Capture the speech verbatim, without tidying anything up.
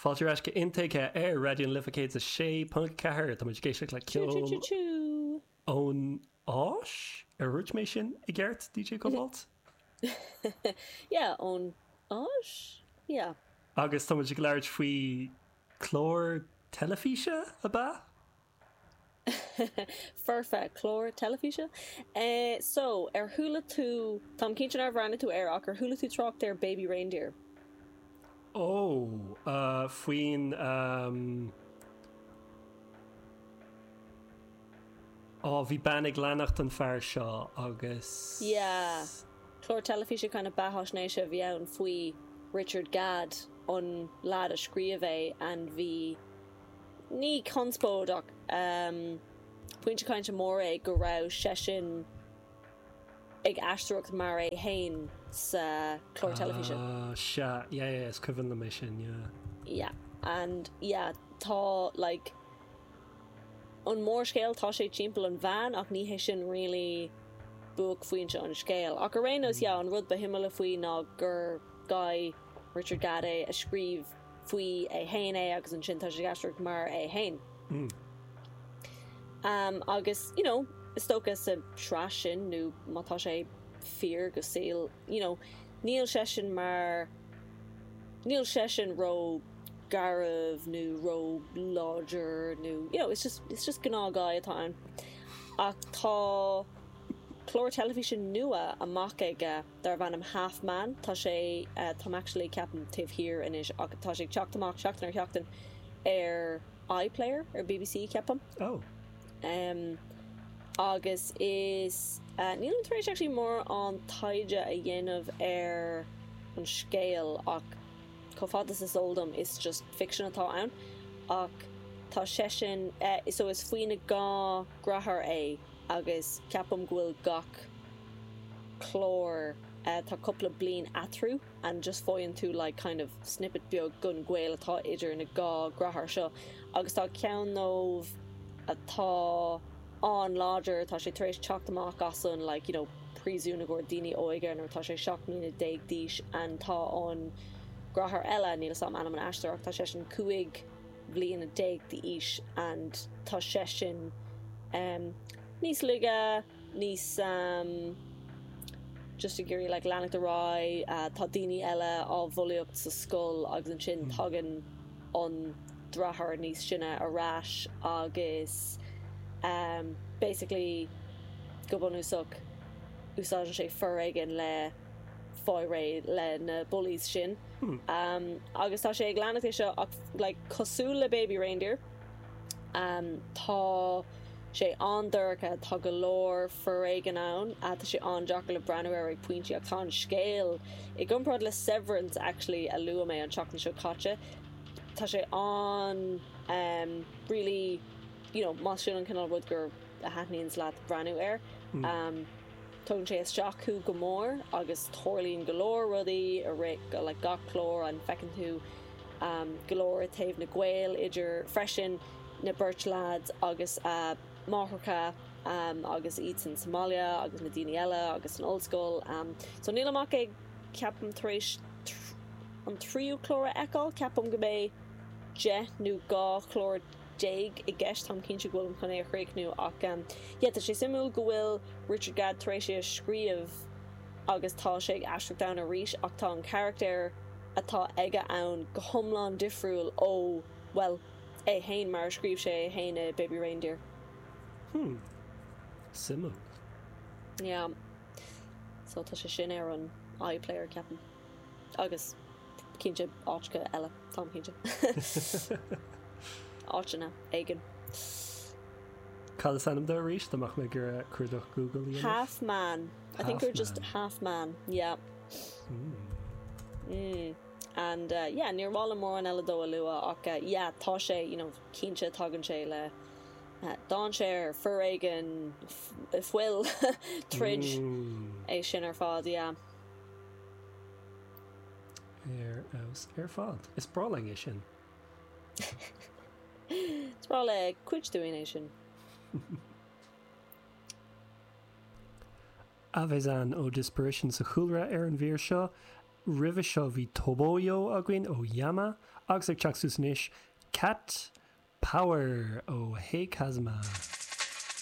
Fáilte ar ais go Intuigthe ar Raidió na Life céad a sé ponc ceathair. Tá muid ag éisteacht le ceol ón Áis? Ar dhúirt mé sin i gceart, D J Cobalt? Yeah, ón Áis? Yeah. Agus tá muid ag labhairt faoi chlár teilifíse, ab ea? Foirfe, clár teilifíse. Eh, so, ar chuala tú, táim cinnte nár bhreathnaigh tú air ach ar chuala tú trácht ar Baby Reindeer? Ó, uh, faoin um... Ó, bhí bean ag leanacht an fear seo agus. Yeah. Clár teilifíse kind of beathaisnéise a bhí ann faoi Richard Gadd, an lad a scríobh é and bhí ní conspóid ach um, pointe cainte mór é go raibh seisean ag aisteoireacht mar é féin sa chlár teilifíse. Ah, sea, yeah, yeah, is cuimhin liom é sin, yeah. Yeah, and yeah, tá like an mórscéal, tá sé timpeall an bhean ach ní hé sin really buaicphointe an scéil. Ach ar aon nós, yeah, an rud ba shuimiúla faoi ná gur guy Richard Gadd é a scríobh faoi é féin é agus ansin tá sé ag aisteoireacht mar é féin. Mm. Um, agus, you know, is dócha sa tsraith sin nó má tá sé fíor go saol, you know, níl seisean mar níl seisean ró garbh nó ró láidir nó, you know, it's just, it's just gnáth guy atá ann. Ach tá clár teilifíse nua amach aige darb ainm Half Man. Tá sé uh, táim actually ceapaim taobh thiar anois ach tá sé ag teacht amach seachtain ar sheachtain ar iPlayer ar B B C, ceapaim. Oh. Um, agus is uh, nílim tar éis actually mórán taighde a dhéanamh ar an scéal ach chomh fada is is eol dom is just fiction atá ann ach tá seisean uh, so is faoina dhá dheartháir é agus ceapaim go bhfuil gach clár uh, tá cúpla bliain eatarthu and just faigheann tú like kind of snippet beag den ghaol atá idir na dhá dheartháir seo agus tá ceann dóibh atá an-láidir, tá sé tar éis teacht amach as an like you know príosún i gcomhair daoine óga nuair tá sé seacht mbliana déag d'aois and tá an deartháir eile, níl a fhios agam ainm an aisteoir ach tá seisean cúig bliana déag d'aois and tá seisean um, níos laige, níos um, just ag iarraidh like leanacht ar aghaidh, uh, tá daoine eile á bhulaíocht sa scoil agus ansin tagann an deartháir níos sine ar ais agus um, basically go bunúsach úsáideann sé foréigean le fáil réidh le na bullies sin. Hmm. Um, agus tá sé ag leanacht é seo ach like, cosúil le Baby Reindeer. Um, tá sé an-dorcha, tá go leor foréigean ann, uh, tá sé an-deacair le breathnú ar ag pointí ach tá an scéal i gcomparáid le Severance actually a luaigh mé an tseachtain seo caite. Tá sé an um, really you know, más sin an cineál rud gur a thaitníonns leat breathnú air. Mm. Um, Tugann sé isteach thú go mór agus tarlaíonn go leor rudaí a rith le gach clár an feiceann tú um, go leor taobh na gaol idir freisin na beirt lads agus uh, máithreacha um, agus iad san Somalia agus na daoine eile agus an ollscoil. Um, so níl amach ag ceapaim tar éis tr- an tríú clár a fheiceáil, ceapaim go mbeidh deich nó dhá chlár déag i gceist, táim cinnte go bhfuilim chun é a chríochnú ach um, yeah, tá sé suimiúil go bhfuil Richard Gadd tar éis é a scríobh agus tá sé ag aisteoireacht ann arís ach tá an charachtar atá aige ann go hiomlán difriúil ó well é féin mar a scríobh sé é féin i Baby Reindeer. Hmm. Suimiúil. Yeah. So tá sé sin ar an iPlayer, ceapaim. Agus cinnte áiteacha eile, táim cinnte. Áiteanna éigin. Cad is ainm dó arís dá mbeadh mé ag iarraidh cuardach Google a dhéanamh? Half Man. I think Half we're just Man. Half Man. Yeah. Mm. Mm. And uh, yeah, níor mhaith liom mórán eile dó a lua ach uh, yeah, tá sé you know, cinnte tagann sé le uh, dainséar, foréigean, f- fuil, troid Mm. é sin ar fad, yeah. Ar fheabhas ar fad. Is breá linn é sin. Is breá le cuid dúinn é sin. Avezan ó Disparition sa chúlra ar an mhír seo. Roimhe seo bhí Toboyo againn ó Yama agus ag teacht suas anois Cat Power ó Hey Kazuma.